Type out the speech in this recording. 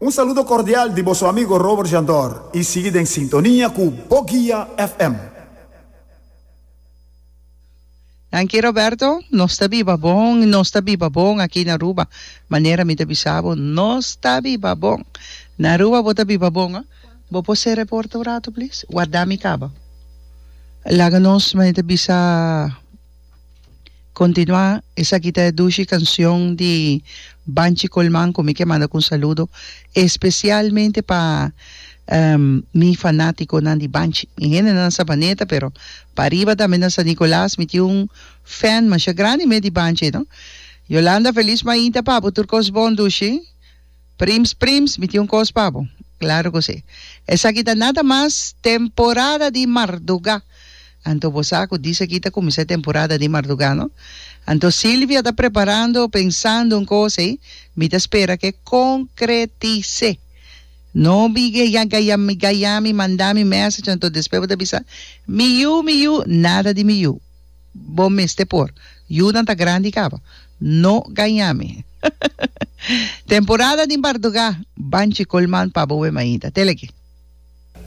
Un saludo cordial di boso amigo Robert Jandor y sigui den sintonia cu Boguia FM. Danki Roberto, nos ta biba bon, nos ta biba bon aki na Aruba, manera mi ta bisa bo, nos ta biba bon. Na Aruba bo ta biba bon, ah. Bo por cera e porta un rato please? Warda mi caba. Laga nos, manera ta bisa. Continua, esaki ta e dushi cancion di Banchi Colman cu mi ke manda cu un saludo especialmente pa mi fanaticonan di Banchi. Mi hendenan na Sabaneta pero pariba tambe na San Nicolas mi tin un fan masha grandi mes di Banchi no. Yolanda feliz mainta pa bo tur cos bon dushi. Prims prims mi tin un kos pa bo. Claro cu si. Esaki ta nada mas temporada di marduga. Anto bo sa cu dice aki ta cuminsa e temporada di marduga no. Anto Silvia ta preparando pensando un cos ey mi ta spera ke concretise. No mi gaya mi manda mi message anto despues bo ta bisa mi yu mi yu nada di mi yu. Bo mester por. Yunan ta grandi caba. No gaña mi. Temporada di bardugá. Banchi Colman pa bo we mainta. Tele aki.